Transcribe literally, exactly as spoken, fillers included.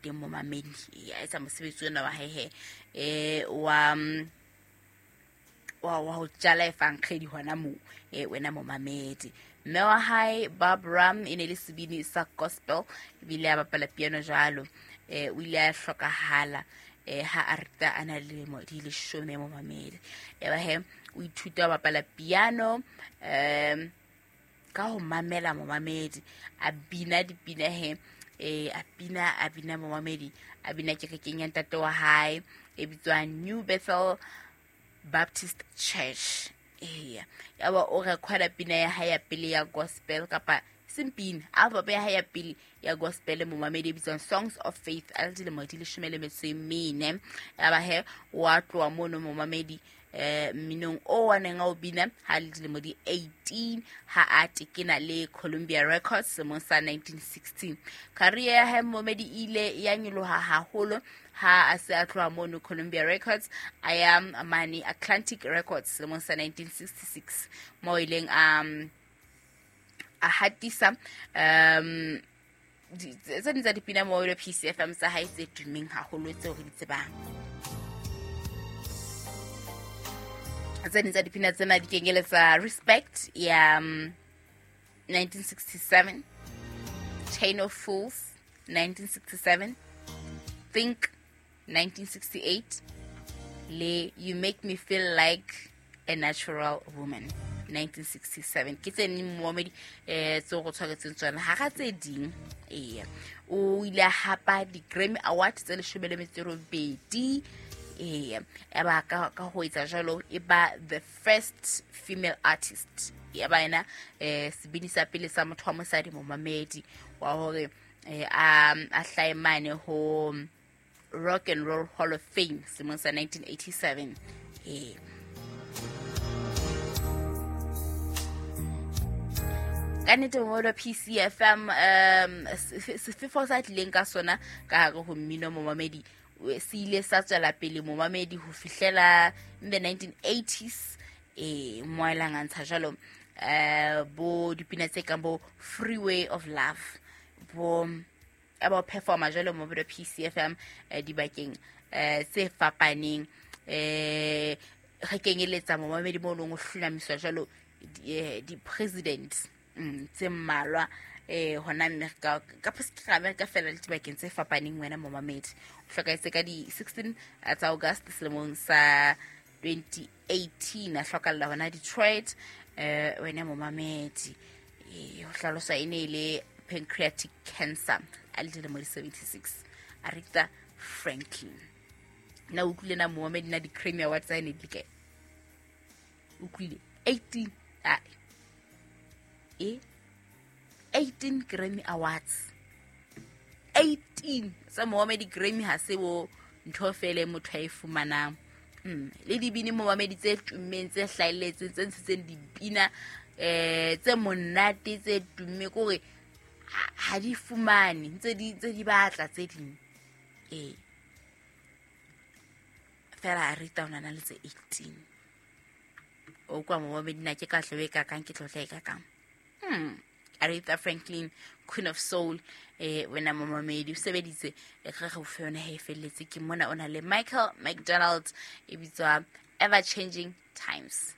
teng momamedi. A etsa mosebetsi ona wa hae he eh wa wa wa ho jala efankgedi hona moo eh wena momamedi. Mme wa hae Barbara e ne le sebini sa gospel ebile a bapala piano jwalo. Eh o ile a hlokahala eh ha Aretha a na le dilemo di leshome momamedi. Eba he o ithuta ho bapala piano um ka ho mamela momamedi, a bina dipina he eh a bina a bina momamedi, a bina kerekeng ya ntate wa hae e bitswang New Bethel Baptist Church. Eya, yaba o recorda pina ya hae ya pele ya gospel kapa sempina album ya hae ya pele ya gospel momamedi e bitswang Songs of Faith a le dilemo di leshome le metso e mene. Yaba he wa tloha mono momamedi eh mminong o wa neng a o bina ha le dilemo di eighteen ha a tekena le Columbia Records selemong sa nineteen sixteen. Career ya hae momamedi ile ya nyoloha haholo ha a se a tloha mono Columbia Records a ya mane Atlantic Records selemong sa nineteen sixty-six mo ileng a a hatisa um tse ding tsa dipina mo le P C F M tsa hae tse tummeng haholo tseo re di tsebang. Tse ding tsa dipina tsena di kenyeletsa Respect ya um, nineteen sixty-seven, Chain of Fools nineteen sixty-seven, Think nineteen sixty-eight le You Make Me Feel Like a Natural Woman nineteen sixty-seven. Ke tse neng momamedi eh tseo go tshwaretseng tsona ha ga tse ding. Eya, o ile a hapa di-Grammy Award tse leshome le metso e robedi. Eya, eba ka ka ho etsa jwalo e ba the first female artist. Ya ba ena eh sebini sa pele sa motho wa mosadi momamedi wa hore eh a a hlae mane ho Rock and Roll Hall of Fame selemong sa nineteen eighty-seven. Eh ka nnete momamedi wa P C F M um sefefo sa tlileng ka sona ka hare ho mmino momamedi se ile sa tswela pele momamedi ho fihlela in the nineteen eighties. Eh mo elang a ntsha jwalo eh bo dipina tse kang bo Freeway of Love bo aba performer jwalo momamedi wa P C F M dibakeng eh tse fapaneng eh re kenyeletsa momamedi mo leng o hlonamiswa jwalo di-president tse mmalwa eh hona America ka ka America fela le dibakeng tse fapaneng wena momamedi. O hlokahetse ka di sixteen tsa August selemong sa twenty eighteen a hlokalla hona Detroit eh wena momamedi. Eh ho hlalosa e ne le pancreatic cancer a le dilemo di seventy-six. Aretha Franklin. Na utlwile na momamedi na di-Grammy Awards tsa ne di kae? Utlwile eighteen a e eighteen Grammy Awards eighteen sa momamedi. Grammy ha se bo ntho fele motho a e fumanang. Mm le dibini momamedi tse tummeng tse hlahelletseng tse ntshitseng dipina eh tse monate tse tumme kore ha di fumane ntse di tse di batla tse ding. Eh fela Aretha o na le tse eighteen. O kwa momamedi na ke ka hlobe ka kang ke tlotla e ka kang. Hmm Aretha Franklin, Queen of Soul, eh wena momamedi o sebeditse e re re o fe yona he felletse ke mona o na le Michael McDonald e bitswa Ever Changing Times.